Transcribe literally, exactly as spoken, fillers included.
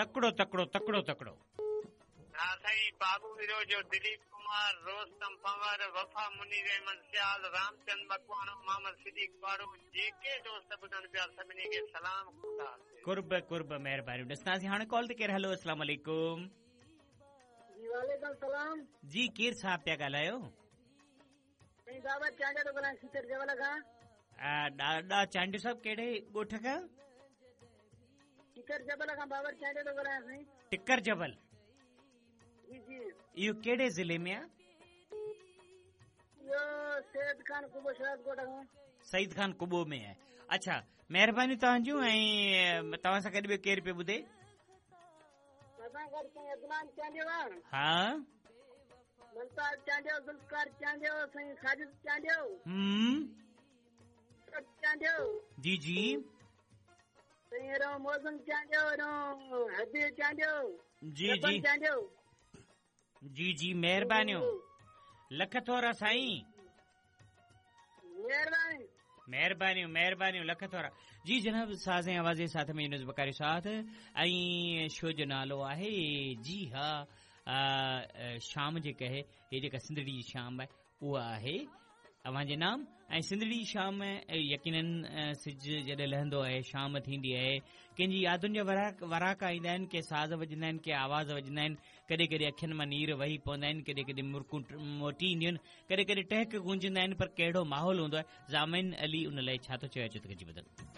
तकिड़ो तकिड़ो तकिड़ो तकिड़ो। हा साईं, बाबू विरोजो, दिलीप कुमार, रोस्तम पंवर, वफ़ा मुनीर अहमद सियाल, रामचंद मकवाणो, मोहम्मद सिद्दीक पाड़ो, जेके दोस्त ॿुधनि पिया सभिनी खे सलाम। कुर्ब कुर्ब, महिरबानी। ॾिसंदासीं हाणे कॉल ते केरु। हलो, अस्सलाम वालेकुम। जी वालेकुम सलाम। जी केरु साहिब पिया ॻाल्हायो? साईं बाबा चांडियो थो ॻाल्हायां, सीतर जबल खां। ॾाॾा चांडियो साहिब कहिड़े ॻोठ खां? टिकर जबल खां बाबर चांडियो थो ॻाल्हायां साईं। टिकर जबल? जी जी। इहो कहिड़े ज़िले में आहे? इहो सैद खान कुबो शहर ॻोठ खां। सईद खान कुबो में आहे। अच्छा, महिरबानी तव्हांजूं। ऐं तव्हां सां गॾु ॿियो केरु पियो ॿुधे? असां गॾु साईं अदनान चांडियो आहे। हा, मुमताज़ चांडियो, ज़ुल्फ़कार चांडियो, साईं साजिद चांडियो, हम्म, चांडियो। जी जी। साईं रो मौसम चांडियो, रो हबीब चांडियो। जी जी चांडियो। जी जी, महिरबानियूं, लख थोरा साईं। महिरबानी महिरबानियूं महिरबानियूं, लख थोरा। जी जनाब, साज़ ऐं आवाज़ जे साथ में यूनुस बकारी साथ ऐं शो जो नालो आहे जी हा आ, शाम जेका आहे, हीअ जेका सिंधड़ी जी शाम आहे उहा आहे अव्हांजे नाम। ऐं सिंधड़ी जी शाम यकीनन सिज जॾहिं लहंदो आहे, शाम थींदी आहे, कंहिंजी यादुनि जा वराक वराका ईंदा आहिनि, के साज़ वॼंदा आहिनि, के आवाज़ वॼंदा आहिनि, कॾहिं कॾहिं अखियुनि मां नीर वही पवंदा आहिनि, कॾहिं कॾहिं मुरकूं मोटी ईंदियूं आहिनि, कॾहिं कॾहिं टहक गूंजंदा आहिनि, पर कहिड़ो माहौल हूंदो आहे। ज़ामिन अली उन लाइ छा थो चए, अचो त गॾिजी ॿुधनि।